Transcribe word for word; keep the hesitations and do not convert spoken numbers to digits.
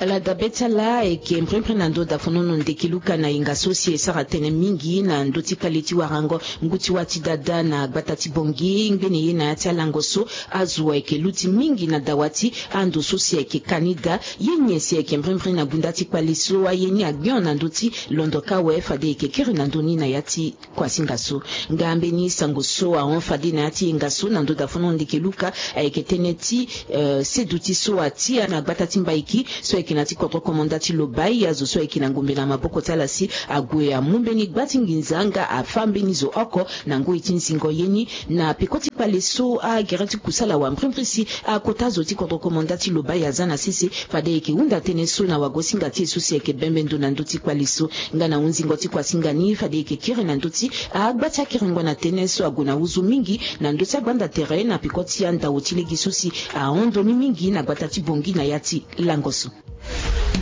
Ala dabe ti ala ayeke mbrimbri na ndö dafonono ndeke luka na yenga so si e sara tënë mingi na ndö ti kpale ti warango ngu ti wâ ti dada na gbata ti Bangui ngbene ye na yâ ti alango so. Azo ayeke luti mingi na dawa ti ando so si ayeke kani daa. Ye nyen si ayeke mbrimbri na bunda ti kpale so? Aye ni agbion na ndö ti londo ka awe fade e yeke kiri na ndö ni na yâ ti kuasinga so. Nga mbeni sango so ahon fade na yâ ti yenga so na ndö dafonono ndeke luka ayeke tënë ti seduti so atia na gbata ti Mbaiki so ayeke na ti kodro komanda ti Lobaye. Azo so ayeke na ngombe na maboko ti ala si ague amu mbeni gba ti nginza nga afâ mbeni zo oko na ngoi ti nzingo ye ni. Na peko ti kpale so agere ti kusala wambrimbri si akota zo ti kodro komanda ti Lobaye aza na sese fade e yeke hunda tënë so na wagosinga ti e so si ayeke bembe ndo na ndö ti kpale so. Nga na hunzingo ti kuasinga ni fade e yeke kiri na ndö ti agba ti akiringo na tënë so ague na huzu mingi na ndö ti agbanda tere na peko ti andao ti lege so si ahon ndo ni mingi na gbata ti Bangui na yâ ti lango so.